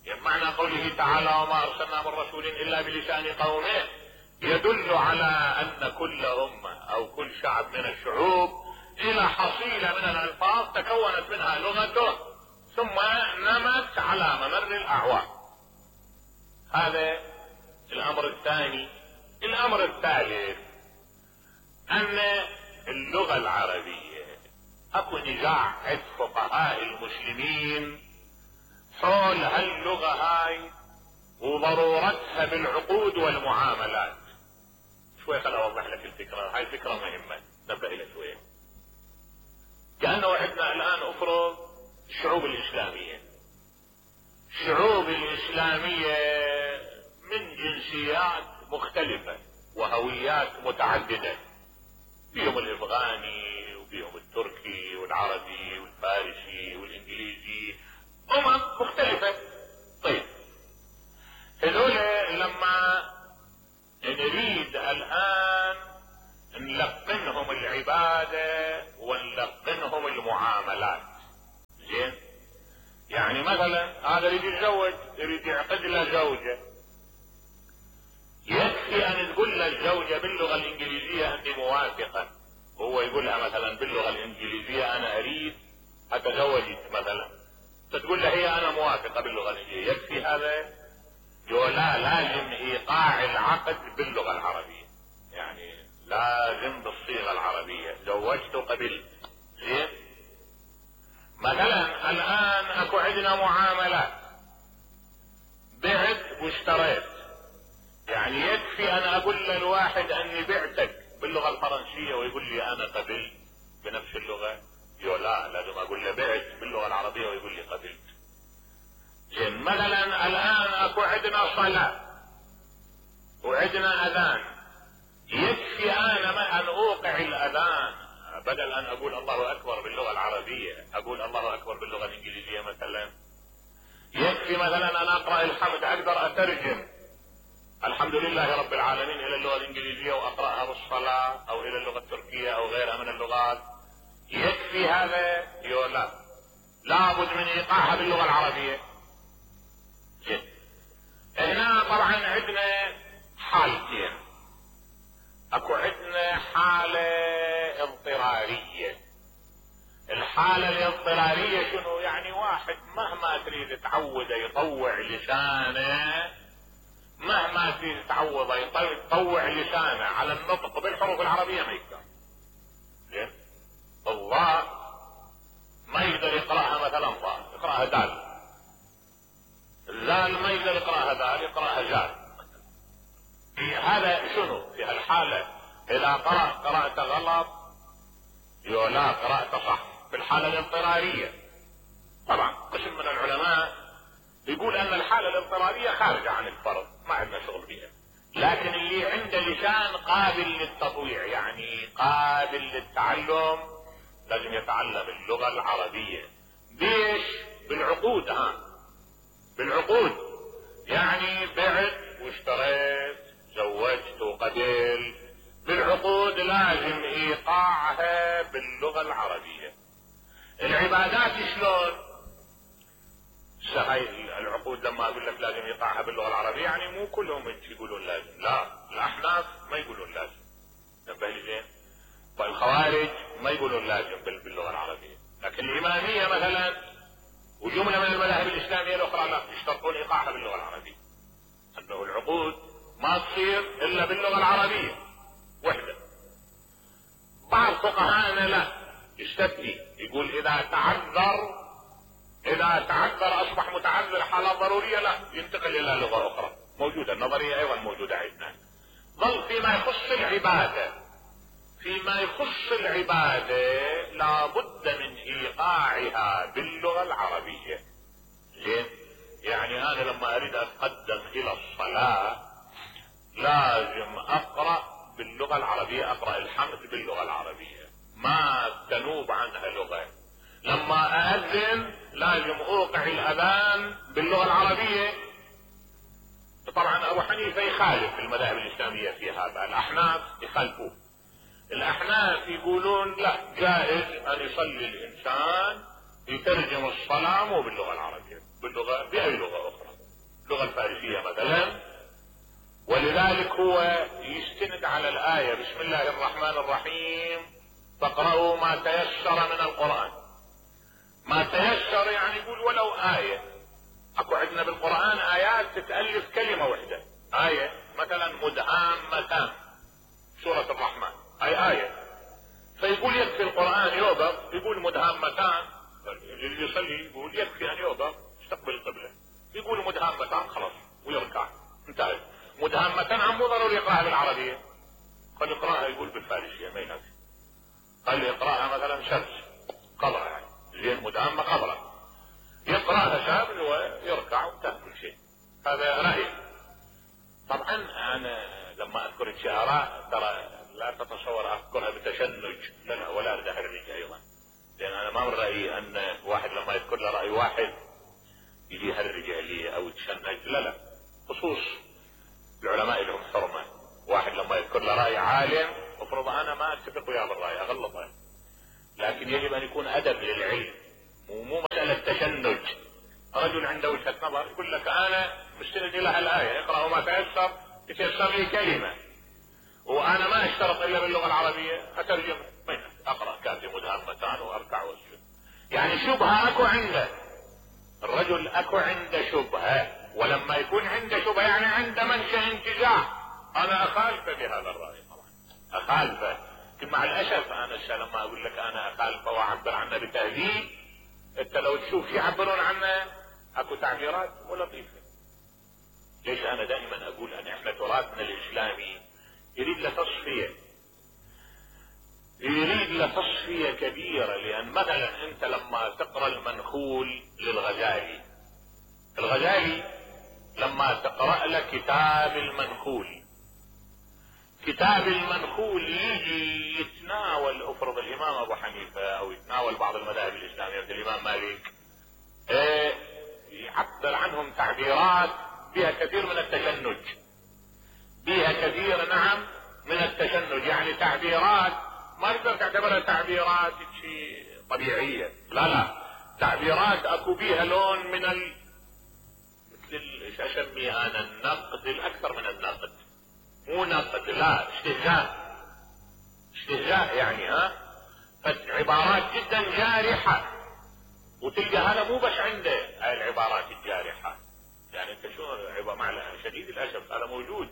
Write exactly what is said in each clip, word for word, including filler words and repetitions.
يعني معنى قوله تعالى وما ارسلنا من رسول الا بلسان قومه يدل على ان كل امة او كل شعب من الشعوب الى حصيلة من الالفاظ تكونت منها لغته ثم نمت على ممر الاعوام. هذا الامر الثاني. الامر الثالث ان اللغة العربية اكو نزاع عند فقهاء المسلمين حول هاللغة هاي وضرورتها بالعقود والمعاملات. شوي خل اوضح لك الفكرة هاي، فكرة مهمة نبدأ الى شوية. كأنه عندنا الان افرض الشعوب الاسلامية، الشعوب الاسلامية من جنسيات مختلفة وهويات متعددة، بيهم الافغاني وبيهم التركي والعربي والفارسي والانجليزي، امم مختلفة. طيب هذول لما نريد الان نلقنهم العبادة ونلقنهم المعاملات، زين؟ يعني مثلا هذا يريد يتزوج، يريد يعقد له زوجة، يكفي ان تقول له الزوجة باللغة الانجليزية انت موافقة، هو يقولها مثلا باللغة الانجليزية انا اريد اتزوجك مثلا، تقول له هي انا موافقة باللغة الانجليزية، يكفي هذا؟ يقول لا، لازم ايقاع العقد باللغة العربية، يعني لازم بالصيغة العربية، زوجت وقبلت، زين؟ مثلا الان اكو عندنا معاملات، بعت واشتريت، يعني يكفي انا اقول للواحد اني بعتك باللغة الفرنسية ويقول لي انا قبلت بنفس اللغة؟ يقول لا، لازم اقول له بعت باللغة العربية ويقول لي قبلت. زين؟ مثلا الان اكو عندنا صلاة وعندنا اذان، يكفي انا ما ان اوقع الاذان بدل ان اقول الله اكبر باللغة العربية اقول الله اكبر باللغة الانجليزية مثلا. يكفي مثلا ان اقرأ الحمد اقدر اترجم الحمد لله رب العالمين الى اللغة الانجليزية واقرأها بالصلاة او الى اللغة التركية او غيرها من اللغات، يكفي هذا؟ يقول لا، لابد من ايقاعها باللغة العربية. جد. هنا طبعا عندنا حالتين، اكو عندنا حالة اضطرارية. الحالة الاضطرارية شنو؟ يعني واحد مهما تريد تعوده يطوع لسانه، مهما تريد تعوده يطوع لسانه على النطق بالحروف العربية ما يقدر. زين؟ الضاء ما يقدر يقرأها مثلا ضاء، يقرأها دال. الزال ما يقدر يقرأها دال، يقرأها زال. في هذا شنو؟ في هالحالة اذا قرأ قرأت غلط يقول لا قرأت صح، في الحالة الاضطرارية. طبعا قسم من العلماء يقول ان الحالة الاضطرارية خارجة عن الفرض، ما عندنا شغل بها، لكن اللي عنده لسان قابل للتطويع يعني قابل للتعلم لازم يتعلم اللغة العربية. ليش؟ بالعقود. ها بالعقود، يعني بعت واشتريت، زوجت وقبلت، بالعقود لازم ايقاعها باللغة العربية. العبادات شلون؟ هاي العقود لما اقول لك لازم ايقاعها باللغة العربية يعني مو كلهم يقولون لازم، لا، الاحناف ما يقولون لازم، نبه لي زين؟ والخوارج ما يقولون لازم باللغة العربية، لكن الامامية مثلا وجملة من المذاهب الاسلامية الاخرى لا، يشترطون ايقاعها باللغة العربية، انه العقود ما تصير الا باللغة العربية وحدة. بعض فقهاءنا لا، يستثني، يقول اذا تعذر اذا تعذر اصبح متعذر حالات ضرورية لا، ينتقل الى لغة اخرى. موجودة النظرية ايضا موجودة عندنا. ظل فيما يخص العبادة، فيما يخص العبادة لابد من ايقاعها باللغة العربية. زين؟ يعني انا لما اريد اتقدم الى الصلاة لازم اقرأ باللغة العربية، اقرأ الحمد باللغة العربية ما تنوب عنها لغة. لما اذن لازم اوقع الاذان باللغة العربية. طبعا ابو حنيفة يخالف المذاهب الاسلامية في هذا، الاحناف يخالفوه. الاحناف يقولون لا، جائز ان يصلي الانسان يترجم الصلاة مو باللغة العربية، باللغة باي لغة اخرى. اللغة الفارسية مثلا، ولذلك هو يستند على الآية بسم الله الرحمن الرحيم فاقرأوا ما تيسر من القرآن. ما تيسر يعني يقول ولو آية. اكو عندنا بالقرآن آيات تتألف كلمة واحدة، آية مثلا مدهامتان سورة الرحمن اي آية، فيقول يكفي القرآن يوقف يقول مدهامتان، اللي يصلي يقول يكفي ان يوقف يستقبل القبلة، يقول مدهامتان خلاص ويركع انتهى. مدهامتان عم مو ضروري يقرأها بالعربية، قد يقرأها يقول بالفارسية ما ينفع، قال يقرأها مثلا شمس قبرة يعني زين مدهامة قبرة، يقرأها شامل ويركع وانتهى كل شيء. هذا رأيي. طبعا انا لما اذكر الشعراء ترى لا تتصور اذكرها بتشنج، لا ولا اريد احرج ايضا، لان انا ما من رايي ان واحد لما يذكر له راي واحد يجي يهرج عليه او يتشنج، لا لا، خصوص العلماء لهم حرمه. واحد لما يذكر له راي عالم مفروض انا ما اتفق وياه بالراي اغلطه، لكن يجب ان يكون ادب للعلم، ومو مساله تشنج. رجل عنده وجهه نظر يقول لك انا مستند الى الايه اقرأوا ما تيسر، يتيسر لي كلمه وانا ما اشترط الا باللغه العربيه اترجم، اقرا كاتب مدهامتان واركع واسجد. يعني شبهه اكو عنده الرجل، اكو عنده شبهه، ولما يكون عنده شبهه يعني عنده منشأ انتزاع. انا اخالفه بهذا الراي طبعا اخالفه، لكن مع الاسف انا لما اقول لك انا اخالفه واعبر عنه بتهذيب، انت لو تشوف يعبرون عنه اكو تعبيرات مو لطيفه. ليش انا دائما اقول ان احنا تراثنا الاسلامي يريد له تصفيه، يريد له تصفيه كبيره. لان مثلا انت لما تقرا المنخول للغزالي، الغزالي لما تقرا له كتاب المنخول، كتاب المنخول يجي يتناول افرض الامام ابو حنيفه او يتناول بعض المذاهب الاسلاميه مثل الامام مالك، اه يعبر عنهم تعبيرات بها كثير من التشنج، بها كثير نعم من التشنج، يعني تعبيرات ما تقدر تعتبرها تعبيرات شيء طبيعيه، لا لا، تعبيرات اكو بيها لون من ال مثل ايش اسميها انا النقد، الاكثر من النقد، مو نقد لا استهزاء، استهزاء يعني ها، فعبارات جدا جارحه. وتلقى هذا مو بس عنده هاي العبارات الجارحه، يعني انت شو مع شديد الاسف هذا موجود.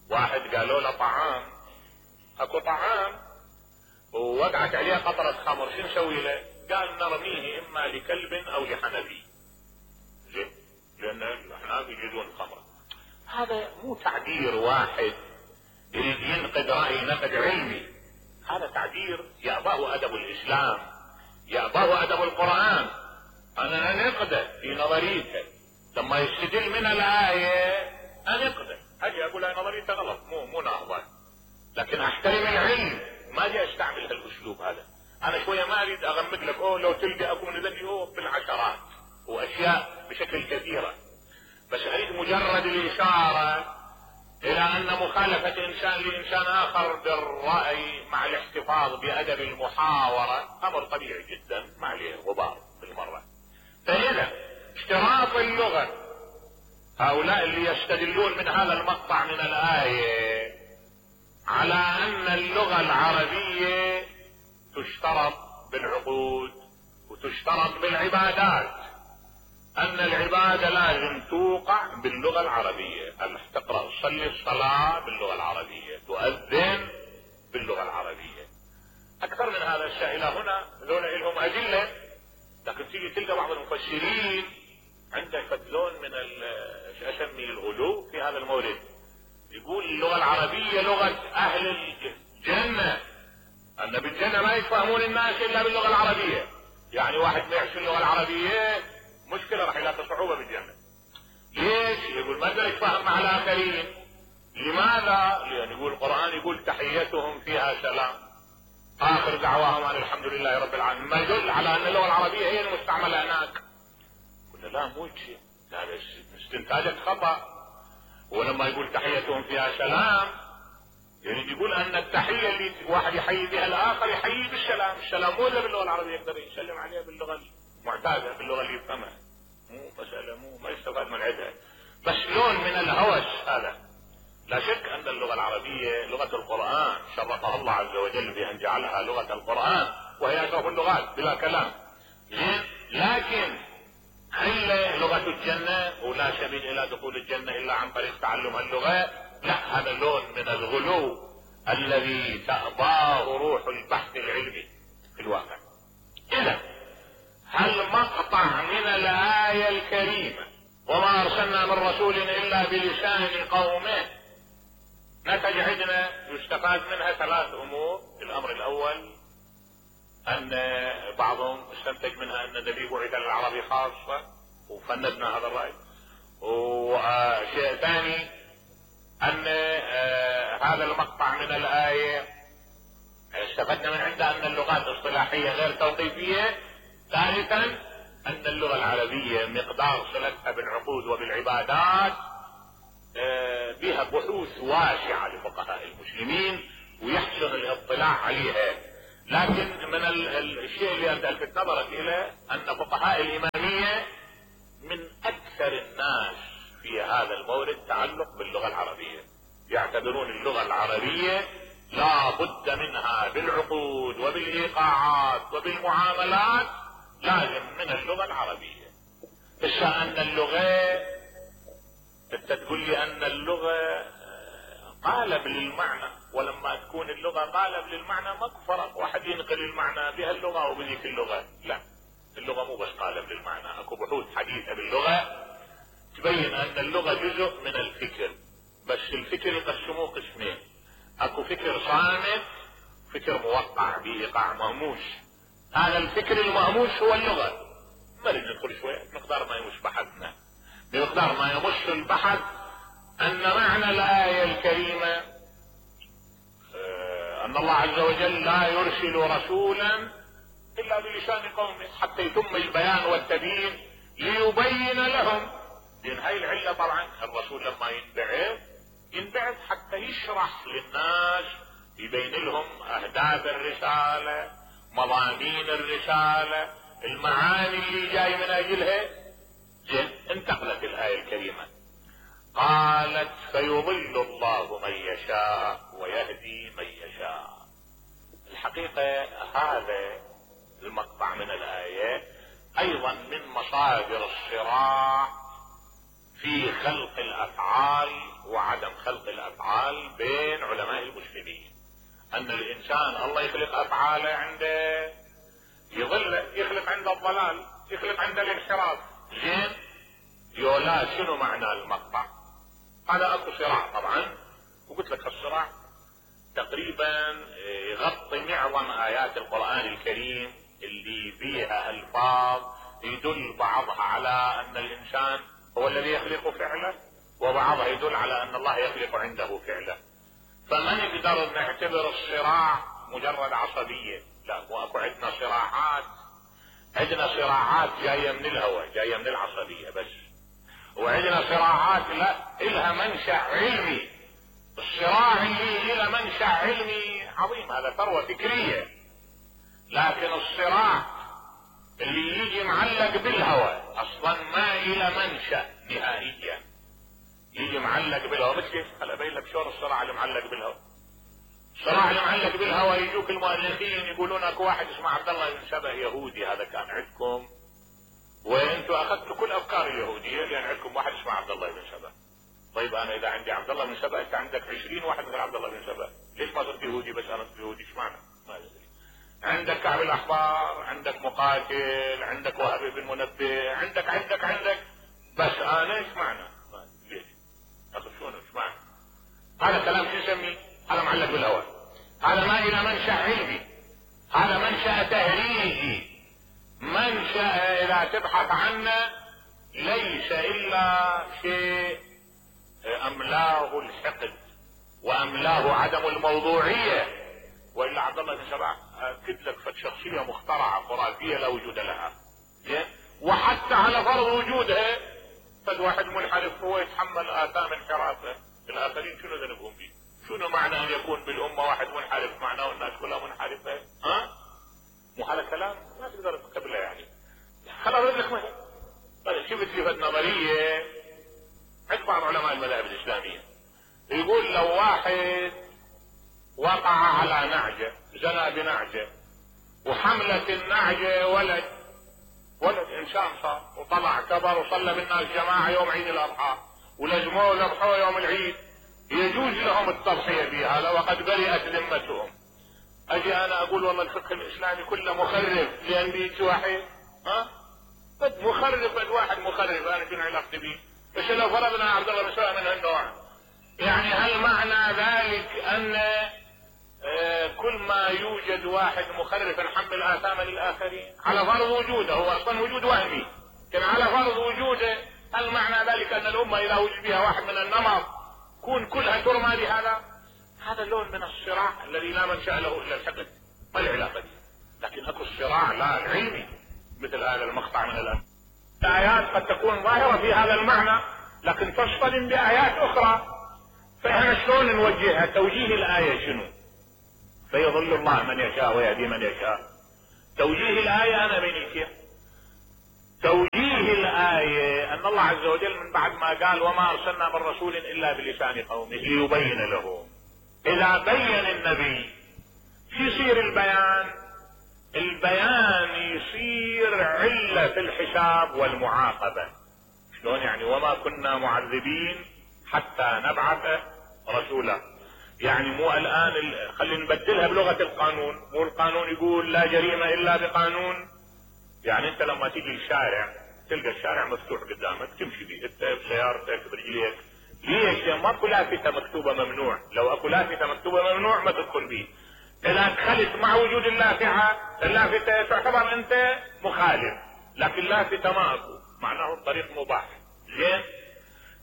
واحد قالوا له طعام، اكو طعام ووقعت عليه قطرة خمر، شو نسوي له؟ قال نرميه اما لكلب او لحنفي، زين، لان الاحناف يجيزون الخمر. هذا مو تعبير واحد يريد ينقد رأي نقد علمي، هذا تعبير يأباه ادب الاسلام، يأباه ادب القرآن. انا انقده في نظريته لما يستدل من الآية انقده، اجي اقول هاي نظريته غلط مو مو ناهضة، لكن احترم العلم، ما اجي استعمل هالاسلوب هذا. انا شوية ما اريد اغمد لك اوه لو تلقى اكو من ذني اوه بالعشرات واشياء بشكل كثيرة، بس اريد مجرد الاشارة الى ان مخالفة انسان لانسان اخر بالرأي مع الاحتفاظ بادب المحاورة امر طبيعي جدا ما عليه غبار بالمرة. فاذا اشتراط اللغة، هؤلاء اللي يستدلون من هذا المقطع من الآية على ان اللغة العربية تشترط بالعقود وتشترط بالعبادات، ان العبادة لازم توقع باللغة العربية، ان تقرأ تصلي الصلاة باللغة العربية، تؤذن باللغة العربية. اكثر من هذا الشيء الى هنا ذولا لهم ادلة، لكن تيجي تلقى بعض المفسرين عندك لون من ايش اسمي الغلو في هذا المورد، يقول اللغة العربية لغة اهل الجنة، ان بالجنة ما يفهمون الناس الا باللغة العربية، يعني واحد ما يعرف اللغة العربية مشكلة راح يلاقي صعوبة بالجنة. ليش؟ يقول ما يقدر يتفاهم مع الاخرين. لماذا؟ لان يقول القرآن يقول تحيتهم فيها سلام، اخر دعواهم ان الحمد لله رب العالمين، ما يدل على ان اللغة العربية هي المستعملة هناك. قلنا لا مو شيء، هذا استنتاجك خطأ. ولما يقول تحيتهم فيها سلام يعني يقول ان التحية اللي واحد يحيي بها الاخر يحيي بالسلام، السلام مو الا باللغة العربية يقدر يسلم عليها باللغة المعتادة باللغة اللي يفهمها، مو مسألة مو ما يستفاد من عندها. بس القرآن، شرفها الله عز وجل بأن جعلها لغة القرآن وهي أشرف اللغات بلا كلام. لكن هل لغة الجنة ولا سبيل إلى دخول الجنة إلا عن طريق تعلم اللغة؟ لا، هذا لون من الغلو الذي تأباه روح البحث العلمي في الواقع. إذا هل مقطع من الآية الكريمة وما أرسلنا من رسول إلا بلسان قومه نتج عندنا يستفاد منها ثلاث أمور. الأمر الأول أن بعضهم استنتج منها أن النبي بعث للعربي خاصة وفندنا هذا الرأي. وشيء ثاني أن هذا المقطع من الآية استفدنا من عنده أن اللغات اصطلاحية غير توقيفية. ثالثا أن اللغة العربية مقدار صلتها بالعقود وبالعبادات بها بحوث واسعة لفقهاء المسلمين ويحسن الاطلاع عليها. لكن من الشيء اللي أنت ألفت نظرك إليه أن فقهاء الإمامية من أكثر الناس في هذا المورد تعلق باللغة العربية، يعتبرون اللغة العربية لا بد منها بالعقود وبالإيقاعات وبالمعاملات، لازم من اللغة العربية. إذا أن اللغة أنت تقول لي أن اللغة قالب للمعنى، ولما تكون اللغة قالب للمعنى ماكو فرق، واحد ينقل المعنى بهاللغة أو بذيك اللغة. لا، اللغة مو بس قالب للمعنى، اكو بحوث حديثة باللغة تبين أن اللغة جزء من الفكر. بس الفكر يقسموه قسمين، اكو فكر صامت، فكر موقع بإيقاع مهموش. هذا الفكر المهموش هو اللغة. ما نريد ندخل شوية مقدار ما يمش بحثنا، بمقدار ما يمش البحث أن معنى الآية الكريمة أن الله عز وجل لا يرسل رسولا إلا بلسان قومه حتى يتم البيان والتبيين ليبين لهم. لأن هاي العلة طبعا الرسول لما ينبعث ينبعث حتى يشرح للناس، يبين لهم أهداف الرسالة، مضامين الرسالة، المعاني اللي جاي من أجلها. زين، انتقلت الآية الكريمة قالت فيضل الله من يشاء ويهدي من يشاء. الحقيقة هذا المقطع من الآية أيضا من مصادر الصراع في خلق الأفعال وعدم خلق الأفعال بين علماء المسلمين. أن الإنسان الله يخلق أفعاله عنده يضل، يخلق عنده الضلال، يخلق عنده الانحراف. زين، يولا شنو معنى المقطع؟ هذا اكو صراع طبعا، وقلت لك الصراع تقريبا يغطي معظم ايات القرآن الكريم اللي فيها الفاظ يدل بعضها على ان الانسان هو الذي يخلق فعله، وبعضها يدل على ان الله يخلق عنده فعله. فما نقدر نعتبر الصراع مجرد عصبية، لا، مو اكو عندنا صراعات، عندنا صراعات جاية من الهوى، جاية من العصبية بس، وعندنا صراعات لا إلها منشأ علمي. الصراع اللي إلها منشأ علمي عظيم هذا ثروة فكرية، لكن الصراع اللي يجي معلق بالهوى اصلا ما إلى منشأ نهائيا، يجي معلق بالهوى. مش كيف هلا ابين لك شلون الصراع اللي معلق بالهوى. الصراع اللي معلق بالهوى يجوك المؤلفين يقولون اكو واحد اسمه عبد الله بن سبأ يهودي، هذا كان عندكم وانتم اخذتوا كل افكار اليهوديه لان عندكم واحد اسمه عبد الله بن سبأ. طيب انا اذا عندي عبد الله بن سبأ انت عندك عشرين واحد غير عبد الله بن سبأ، ليش ما صرت يهودي بس انا صرت يهودي؟ ايش معنى؟ ما ادري. عندك كعب الاحبار، عندك مقاتل، عندك وهب بن منبه، عندك عندك عندك بس انا ايش معنى؟ ليش؟ اخذ شلون ايش معنى؟ هذا كلام شو نسميه؟ هذا معلق بالهوى، هذا ما الى منشأ علمي، هذا منشأ تهريجي، منشأ اذا تبحث عنه ليس الا شيء املاه الحقد واملاه عدم الموضوعية. والا عبد الله بن سبأ اكد لك فد شخصية مخترعة خرافية لا وجود لها، وحتى على فرض وجودها فد واحد منحرف هو يتحمل اثام انحرافه، الاخرين شنو ذنبهم فيه؟ شنو معنى ان يكون بالامة واحد منحرف معناه الناس كلها منحرفة؟ ها؟ مو هذا كلام ما تقدر تقبله يعني. خل اضرب لك مثل، طيب شفت لي فد نظرية عند بعض علماء المذاهب الاسلامية يقول لو واحد وقع على نعجة، زنى بنعجة، وحملت النعجة ولد ولد انسان صار، وطلع كبر وصلى بالناس جماعة يوم عيد الاضحى، ولزموه ذبحوه يوم العيد، يجوز لهم التضحية بهذا وقد برئت ذمتهم. اجي انا اقول والله الفقه الاسلامي كله مخرب لان بيجي واحد ها بد مخرب، بد واحد مخرب، انا شنو علاقتي بيه؟ بس لو فرضنا عبد الله مسوي من هالنوع، يعني هل معنى ذلك ان آه كل ما يوجد واحد مخرف نحمل اثاما للاخرين على فرض وجوده؟ هو اصلا وجود وهمي، كان على فرض وجوده هل معنى ذلك ان الامه اذا وجد فيها واحد من النمط كون كلها ترمى بهذا؟ هذا اللون من الصراع الذي لا منشأ له الا الحقد، ما العلاقه دي؟ لكن اكو الصراع لا العلمي مثل هذا المقطع من الان. الايات قد تكون ظاهره في هذا المعنى لكن تصطدم بايات اخرى، فاحنا شلون نوجهها؟ توجيه الايه شنو؟ فيضل الله من يشاء ويهدي من يشاء. توجيه الايه انا بين كيف؟ توجيه الايه ان الله عز وجل من بعد ما قال وما ارسلنا من رسول الا بلسان قومه ليبين لهم، اذا بين النبي شو يصير البيان؟ البيان يصير علة في الحساب والمعاقبة. شلون يعني؟ وما كنا معذبين حتى نبعث رسولا. يعني مو الان خلينا نبدلها بلغة القانون، مو القانون يقول لا جريمة الا بقانون؟ يعني انت لما تيجي الشارع تلقى الشارع مفتوح قدامك تمشي بيه انت بسيارتك برجليك، ليش؟ ماكو لافتة مكتوبة ممنوع، لو اكو لافتة مكتوبة ممنوع ما تدخل بيه. اذا دخلت مع وجود اللافتة اللافتة تعتبر انت مخالف، لكن لافتة ما اكو معناه الطريق مباح. زين؟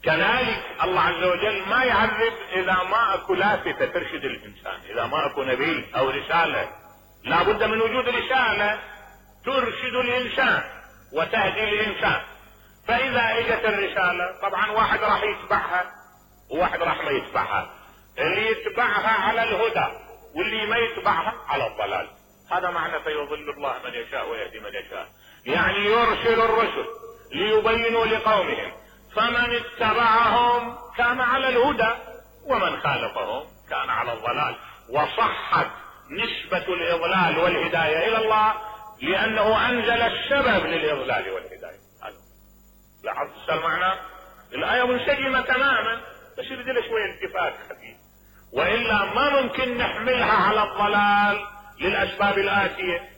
كذلك الله عز وجل ما يعذب اذا ما اكو لافتة ترشد الانسان، اذا ما اكو نبي او رسالة لا بد من وجود رسالة ترشد الانسان وتهدي الانسان. فاذا اجت الرسالة طبعا واحد راح يتبعها وواحد راح ما يتبعها، اللي يتبعها على الهدى واللي ما يتبعها على الضلال. هذا معنى فيضل الله من يشاء ويهدي من يشاء، يعني يرسل الرسل ليبينوا لقومهم، فمن اتبعهم كان على الهدى ومن خالفهم كان على الضلال. وصحت نسبة الاضلال والهداية الى الله لانه انزل السبب للاضلال والهداية. لاحظت المعنى؟ الاية منسجمة تماما بس يبدل شوية التفات خفيف، والا ما ممكن نحملها على الضلال للاسباب الاتية.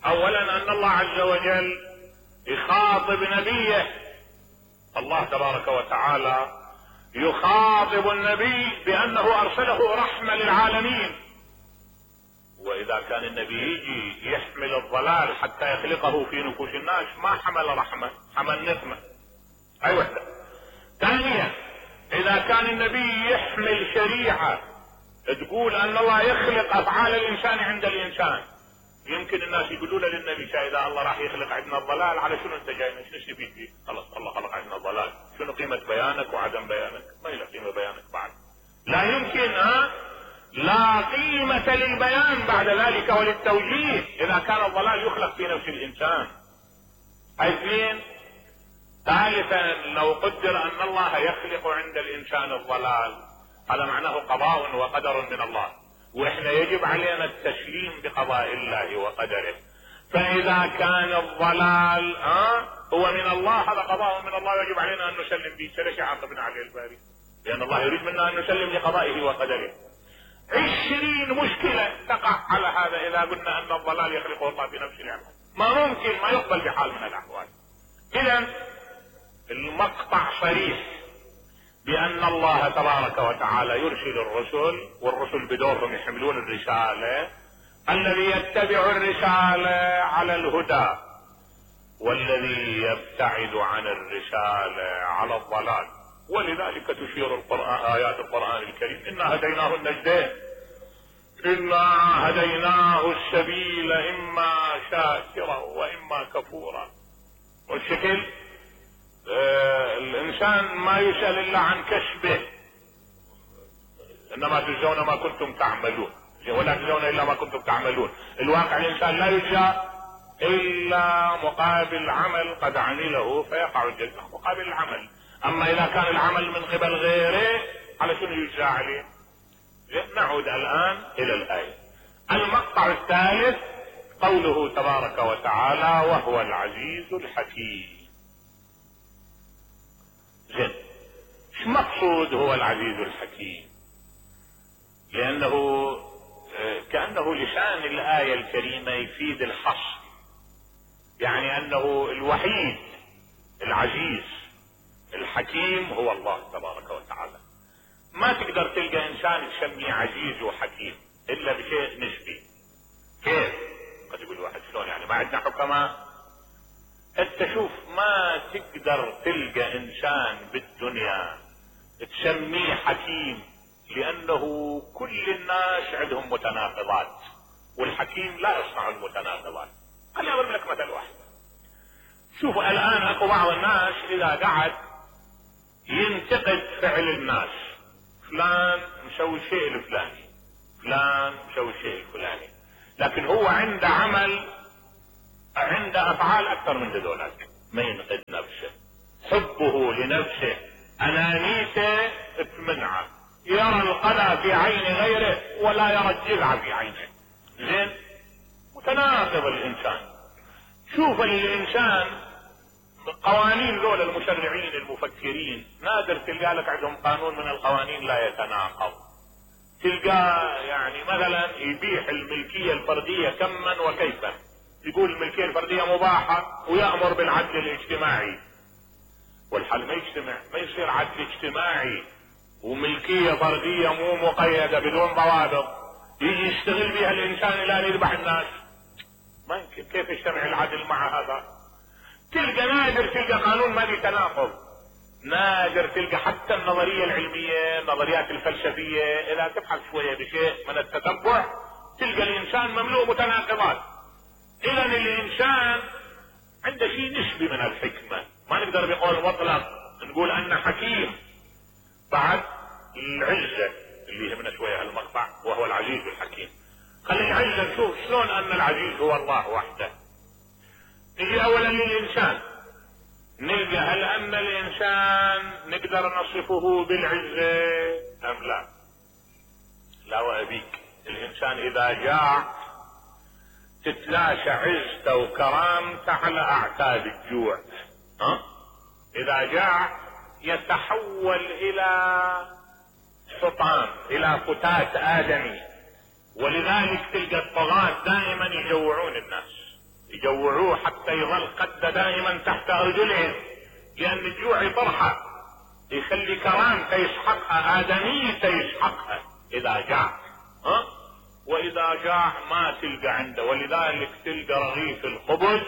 اولا ان الله عز وجل يخاطب نبيه، الله تبارك وتعالى يخاطب النبي بانه ارسله رحمة للعالمين، واذا كان النبي يجي يحمل الضلال حتى يخلقه في نفوس الناس ما حمل رحمة، حمل نقمة. اي وحدة. ثانيا اذا كان النبي يحمل شريعة تقول ان الله يخلق افعال الانسان عند الانسان، يمكن الناس يقولون للنبي اذا الله راح يخلق عندنا الضلال على شنو انت جاي؟ شنو تبي فيه؟ خلاص الله خلق عندنا الضلال، شنو قيمة بيانك وعدم بيانك؟ ما له قيمة بيانك بعد، لا يمكن. ها لا قيمة للبيان بعد ذلك وللتوجيه اذا كان الضلال يخلق في نفس الانسان. اثنين، ثالثا لو قدر ان الله يخلق عند الانسان الضلال هذا معناه قضاء وقدر من الله، واحنا يجب علينا التسليم بقضاء الله وقدره. فاذا كان الضلال ها هو من الله هذا قضاء من الله يجب علينا ان نسلم به، فليش عاقبنا عليه الباري؟ لان الله يريد منا ان نسلم لقضائه وقدره. عشرين مشكلة تقع على هذا اذا قلنا ان الضلال يخلقه الله في نفس العمل، ما ممكن، ما يقبل بحال من الاحوال. اذا المقطع صريح بان الله تبارك وتعالى يرسل الرسل، والرسل بدورهم يحملون الرسالة، الذي يتبع الرسالة على الهدى والذي يبتعد عن الرسالة على الضلال. ولذلك تشير القرآن آيات القرآن الكريم إنا هديناه النجدين، إنا هديناه السبيل إما شاكرا وإما كفورا. والشكل آه الإنسان ما يسأل إلا عن كسبه، إنما تجزون ما كنتم تعملون ولا تجزون إلا ما كنتم تعملون. الواقع الإنسان لا يجزى إلا مقابل عمل قد عمله فيقع الجزاء مقابل العمل. اما اذا كان العمل من قبل غيره على شنو يجزى عليه؟ نعود الان الى الايه. المقطع الثالث قوله تبارك وتعالى وهو العزيز الحكيم. زين، ايش مقصود هو العزيز الحكيم؟ لانه كأنه لسان الآية الكريمة يفيد الحصر، يعني انه الوحيد العزيز الحكيم هو الله تبارك وتعالى. ما تقدر تلقى انسان تسميه عزيز وحكيم الا بشيء نسبي. كيف؟ قد يقول واحد شلون يعني ما عندنا حكماء؟ انت شوف، ما تقدر تلقى انسان بالدنيا تسميه حكيم، لانه كل الناس عندهم متناقضات، والحكيم لا يصنع المتناقضات. خليني اضرب لك مثل واحد. شوف الان اكو بعض الناس اذا قعد ينتقد فعل الناس، فلان مسوي الشيء الفلاني، فلان مسوي الشيء الفلاني، لكن هو عنده عمل، عنده افعال اكثر من ذولك. ما ينقد نفسه، حبه لنفسه، انانيته تمنعه، يرى القلع في عين غيره ولا يرى الجذع في عينه. زين، متناقض الانسان. شوف الانسان قوانين ذول المشرعين المفكرين نادر تلقى لك عندهم قانون من القوانين لا يتناقض. تلقى يعني مثلا يبيح الملكية الفردية كما وكيفا، يقول الملكية الفردية مباحة ويأمر بالعدل الاجتماعي، والحل ما يجتمع، ما يصير عدل اجتماعي وملكية فردية مو مقيدة بدون ضوابط يجي يشتغل بها الانسان الى ان يذبح الناس. ما يمكن، كيف يجتمع العدل مع هذا؟ تلقى نادر تلقى قانون ما يتناقض، نادر تلقى حتى النظرية العلمية، النظريات الفلسفية اذا تبحث شوية بشيء من التتبع تلقى الانسان مملوء متناقضات. اذا الانسان عنده شيء نسبي من الحكمة، ما نقدر بقول مطلق نقول انه حكيم. بعد العزة اللي يهمنا شوية المقطع وهو العزيز الحكيم. خلي العزة نشوف شلون ان العزيز هو الله وحده. نجي اولا للانسان، نلقى هل ان الانسان نقدر نصفه بالعزة ام لا؟ لا وابيك. الانسان اذا جاع تتلاشى عزته وكرامته على اعتاب الجوع. ها؟ اذا جاع يتحول الى حطام، الى فتات ادمي. ولذلك تلقى الطغاة دائما يجوعون الناس، يجوعوه حتى يظل قد دائما تحت رجلهم، لان الجوع يطرحه، يخلي كرامته يسحقها، ادميته يسحقها اذا جاع. ها؟ واذا جاع ما تلقى عنده، ولذلك تلقى رغيف الخبز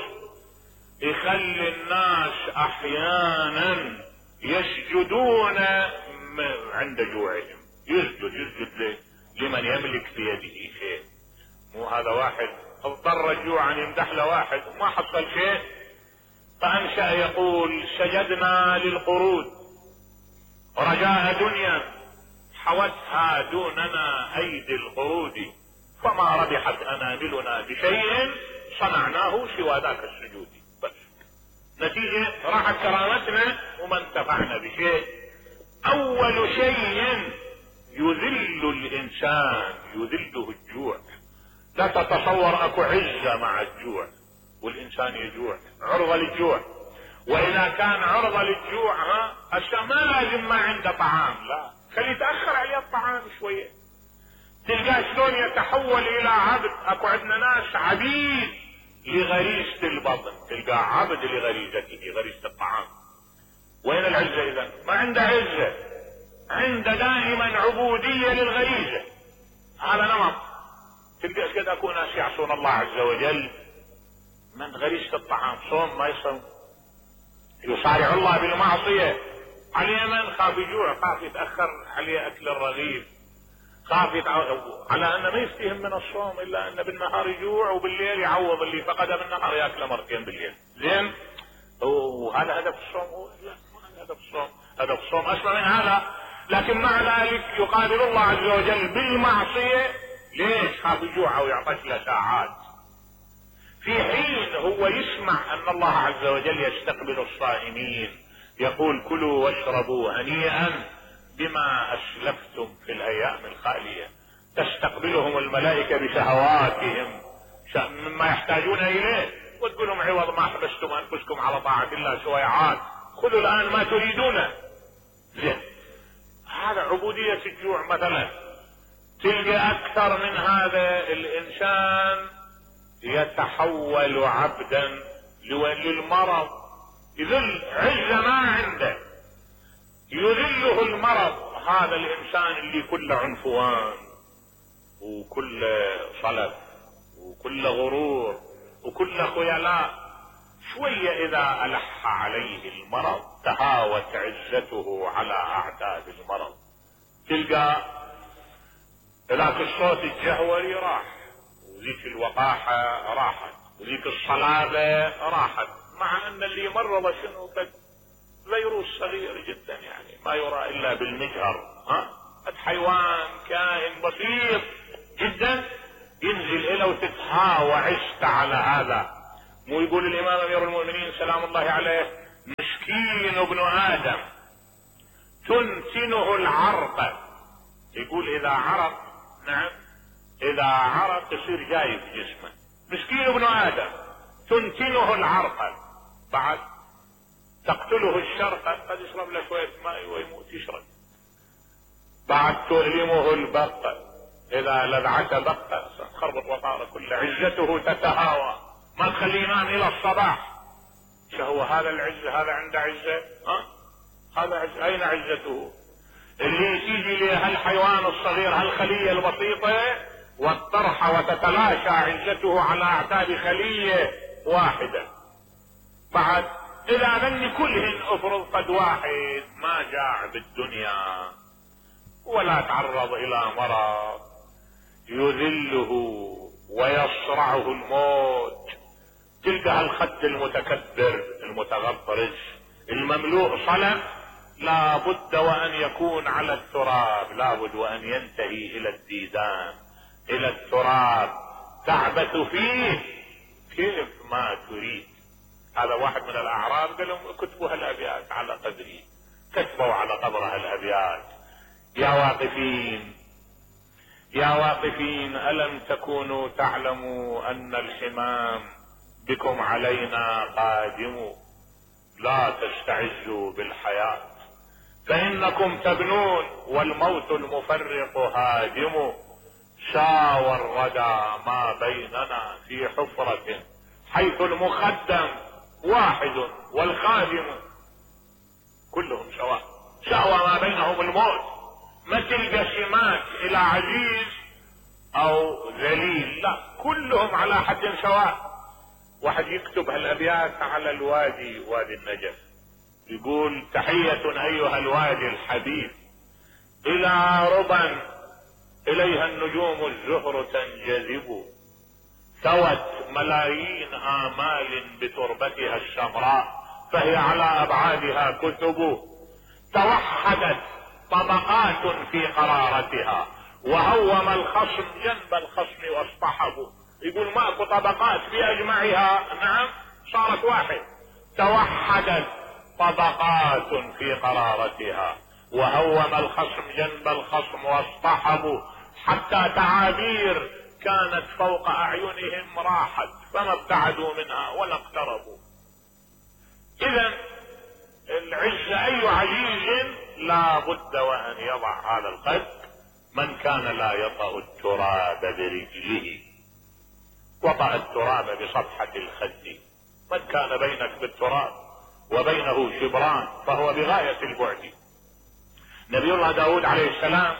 يخلي الناس احيانا يسجدون عند جوعهم. يسجد يسجد لمن يملك في يده شيء. مو هذا واحد اضطر الجوع ان يمدح له واحد وما حصل شيء، فانشأ يقول سجدنا للقرود رجاء دنيا حوتها دوننا ايدي القرود، فما ربحت اناملنا بشيء صنعناه سوى ذاك السجود. بس نتيجة راحت كرامتنا وما انتفعنا بشيء. اول شيء يذل الانسان يذله الجوع. لا تتصور اكو عزة مع الجوع، والانسان يجوع عرضة للجوع. واذا كان عرضة للجوع ها هسه ما لازم ما عنده طعام، لا خلي يتأخر عليه الطعام شوية. تلقاه شلون يتحول الى عبد. اكو عندنا ناس عبيد لغريزة البطن، تلقاه عبد لغريزته غريزة الطعام. وين العزة اذا؟ ما عنده عزة، عنده دائما عبودية للغريزة. هذا نمط. تلقى كذا اكو ناس يعصون الله عز وجل من غريزة الطعام، صوم ما يصوم، يصارع الله بالمعصية. عليه من خاف يجوع، خاف يتأخر عليه اكل الرغيف، خاف يتعو... على انه ما يستهم من الصوم الا انه بالنهار يجوع وبالليل يعوض اللي فقده بالنهار ياكله مرتين بالليل. زين، وهذا هدف الصوم؟ هو لا، ما هدف الصوم. هدف الصوم اسمى من هذا. لكن مع ذلك يقابل الله عز وجل بالمعصية. ليش؟ خاف يجوع ويعطش له ساعات، في حين هو يسمع ان الله عز وجل يستقبل الصائمين، يقول كلوا واشربوا هنيئا بما اسلفتم في الايام الخالية. تستقبلهم الملائكة بشهواتهم مما يحتاجون اليه، وتقول لهم عوض ما حبستم انفسكم على طاعة الله شويعات، خذوا الان ما تريدونه. زين، هذا عبودية الجوع مثلا. تلقى اكثر من هذا الانسان يتحول عبدا للمرض، يذل عزة ما عنده، يذله المرض. هذا الانسان اللي كله عنفوان وكل صلف وكل غرور وكل خيلاء، شوية اذا الح عليه المرض تهاوت عزته على اعداد المرض. تلقى ذاك الصوت الجهوري راح، وذيك الوقاحة راحت، وذيك الصلابة راحت، مع ان اللي مرض شنو قد فيروس صغير جدا يعني ما يرى الا بالمجهر، ها قد حيوان كائن بسيط جدا ينزل الى وتتهاوى عشت على هذا. مو يقول الامام امير المؤمنين سلام الله عليه: مسكين ابن ادم تنتنه العرق. يقول اذا عرق، نعم اذا عرق يصير جاي في جسمه. مسكين ابن ادم تنتنه العرق، بعد تقتله الشرقة، قد يشرب له شوية ماء ويموت يشرب. بعد تؤلمه البقة، اذا لذعته بقة تخربط وطاره كله، عزته تتهاوى ما تخليه ينام الى الصباح. شهو هذا العزة، هذا عنده عزة؟ ها هذا عزة. اين عزته؟ اللي تيجي له هالحيوان الصغير، هالخلية البسيطة والطرحة وتتلاشى عزته على اعتاب خلية واحدة. بعد اذا ذن كلهن افرض قد واحد ما جاع بالدنيا ولا تعرض الى مرض يذله ويصرعه الموت، تلك الخد المتكبر المتغطرس المملوء صلب لا بد وان يكون على التراب، لا بد وان ينتهي الى الديدان، الى التراب، تعبث فيه كيف ما تريد. هذا واحد من الاعراب قال لهم كتبوا هالابيات على قدري، كتبوا على قبرها الابيات: يا واقفين يا واقفين الم تكونوا تعلموا ان الحمام بكم علينا قادم، لا تستعزوا بالحياة فانكم تبنون والموت المفرق هادم، ساوى الردى ما بيننا في حفرة حيث المخدم واحد والخادم، كلهم سواء، ساوى ما بينهم الموت. ما تلقى سمات الى عزيز او ذليل، لا كلهم على حد سواء. واحد يكتب هالابيات على الوادي، وادي النجف، يقول: تحية ايها الوادي الحبيب الى ربا اليها النجوم الزهر تنجذب، ثوت ملايين آمال بتربتها السمراء فهي على أبعادها كتب، توحدت طبقات في قرارتها وهوم الخصم جنب الخصم واصطحبوا. يقول ماكو طبقات في أجمعها، نعم صارت واحد. توحدت طبقات في قرارتها وهوم الخصم جنب الخصم واصطحبوا، حتى تعابير كانت فوق اعينهم راحت فما ابتعدوا منها ولا اقتربوا. اذا العز اي عزيز لا بد وان يضع هذا القد. من كان لا يطأ التراب برجله وطأ التراب بصفحة الخد. من كان بينك بالتراب وبينه شبران فهو بغاية البعد. نبي الله داود عليه السلام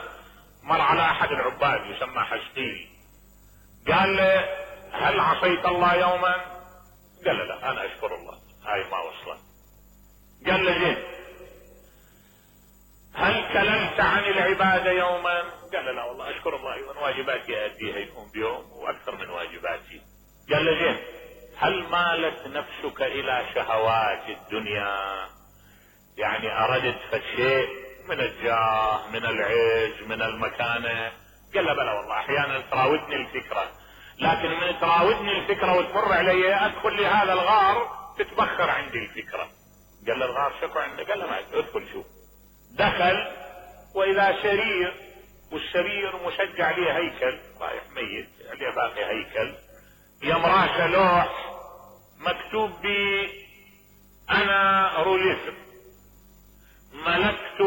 مر على احد العباد يسمى حسقيل، قال له: هل عصيت الله يوما؟ قال له: لا انا اشكر الله، هاي ما وصلت. قال له: زين، هل كلمت عن العبادة يوما؟ قال له: لا والله اشكر الله ايضا، واجباتي اديها يوم بيوم واكثر من واجباتي. قال له: زين، هل مالت نفسك الى شهوات الدنيا؟ يعني اردت فشيء من الجاه، من العز، من المكانة؟ قال له: بلى والله احيانا تراودني الفكرة، لكن من تراودني الفكرة وتمر علي ادخل لهذا الغار تتبخر عندي الفكرة. قال له: الغار شكو عندك؟ قال له: ما ادخل شوف. دخل واذا سرير والسرير مشجع عليه هيكل رايح ميت عليه باقي هيكل، يم راسه لوح مكتوب بي انا روليف، ملكت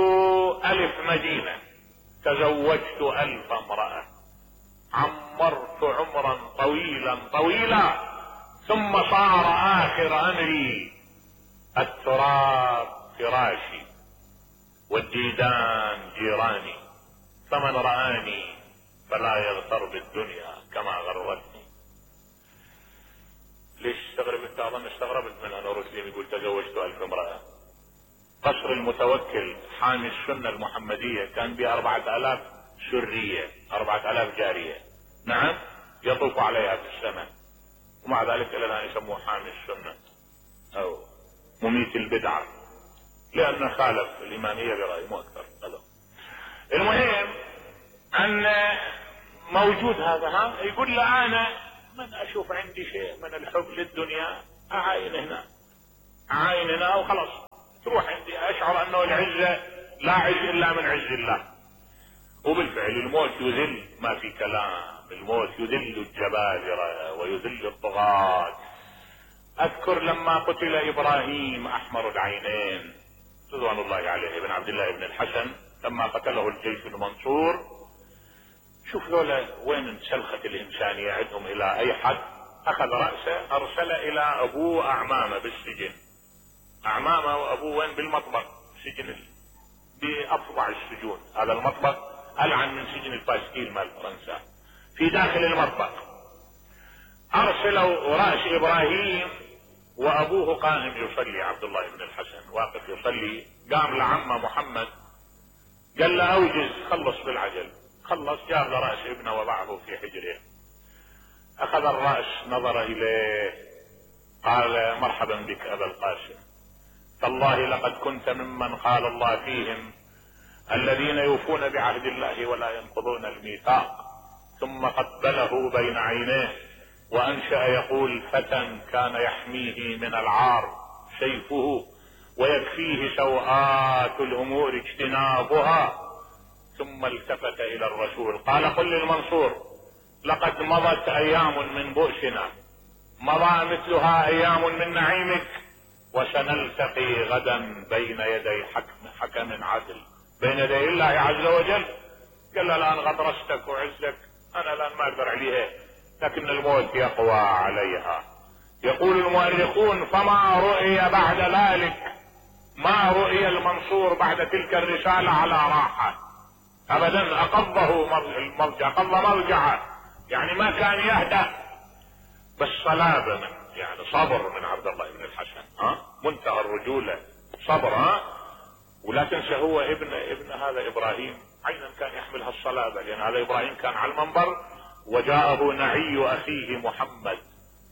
الف مدينة، تزوجت الف امرأة، عمرت عمرا طويلا طويلا، ثم صار اخر امري التراب فراشي والديدان جيراني، فمن رآني فلا يغتر بالدنيا كما غرتني. ليش استغربت؟ اظن استغربت من انا رسلم يقول تزوجت الف امرأة. قصر المتوكل حامي السنة المحمدية كان بها اربعة الاف سرية، اربعة الاف جارية، نعم، يطوف عليها في السنة، ومع ذلك الى الان يسموه حامي السنة او مميت البدعة، لانه خالف الامامية برأي مو اكثر. المهم ان موجود هذا، ها يقول له انا من اشوف عندي شيء من الحب للدنيا اعاين هنا، اعاين هنا وخلاص تروح عندي، اشعر انه العزة لا عز الا من عز الله. وبالفعل الموت يذل، ما في كلام، الموت يذل الجبابرة ويذل الطغاة. اذكر لما قتل ابراهيم احمر العينين رضوان الله عليه ابن عبد الله بن الحسن، لما قتله الجيش المنصور، شوف ذولا وين انسلخت الانسانية عندهم الى اي حد. اخذ رأسه ارسل الى ابوه اعمامه بالسجن، اعمامه وابوه وين؟ بالمطبخ، سجن بافظع السجون، هذا المطبخ العن من سجن الباستيل مال فرنسا، في داخل المطبخ. ارسلوا رأس ابراهيم وابوه قائم يصلي، عبد الله بن الحسن واقف يصلي، قام لعمه محمد قال له اوجز، خلص بالعجل، خلص، جاب له رأس ابنه وضعه في حجره. اخذ الرأس نظر اليه قال مرحبا بك ابا القاسم، تالله لقد كنت ممن قال الله فيهم الذين يوفون بعهد الله ولا ينقضون الميثاق، ثم قبله بين عينيه وانشأ يقول فتى كان يحميه من العار سيفه ويكفيه سوءات الامور اجتنابها. ثم التفت الى الرسول قال قل للمنصور لقد مضت ايام من بؤسنا، مضى مثلها ايام من نعيمك، وسنلتقي غدا بين يدي حكم حكم عدل، بين يدي الله عز وجل. قال الان غطرستك وعزك انا الان ما اقدر عليها، لكن الموت يقوى عليها. يقول المؤرخون فما رؤي بعد ذلك، ما رؤي المنصور بعد تلك الرسالة على راحة ابدا، اقضه المرجع، اقض مرجعه، يعني ما كان يهدأ، بس صلابة من يعني صبر من عبد الله بن الحسن، ها منتهى الرجولة، صبر. ها ولا تنسى هو ابن ابن هذا ابراهيم عينا كان يحملها الصلابة، لان هذا ابراهيم كان على المنبر وجاءه نعي اخيه محمد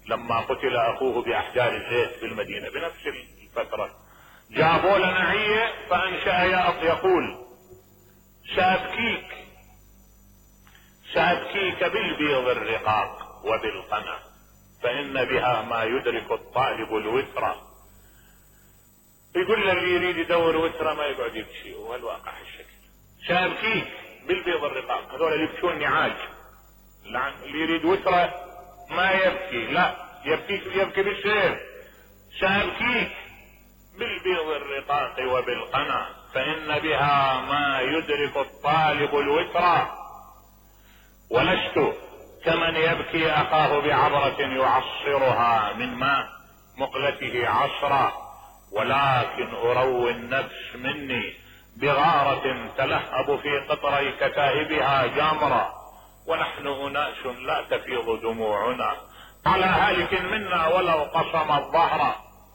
لما قتل اخوه باحجار الزيت في المدينة بنفس الفترة، جابوا له نعية فانشأ يقول سأبكيك سأبكيك بالبيض الرقاق وبالقنا، فإن بها ما يدرك الطالب الوترة. يقول اللي يريد يدور وترة ما يقعد يبكي، والواقع الشكل. سأبكيك بالبيض الرقاق، هذول اللي يبكون نعاج، اللي يريد وترة ما يبكي، لا يبكي يبكي بالسيف. سأبكيك بالبيض الرقاق وبالقنا، فإن بها ما يدرك الطالب الوترة، ولست كمن يبكي أخاه بعبرة يعصرها من ماء مقلته عصرا، ولكن أروي النفس مني بغارة تلهب في قطري كتائبها جامرة، ونحن أناس لا تفيض دموعنا على هالك منا ولو قصم الظهر،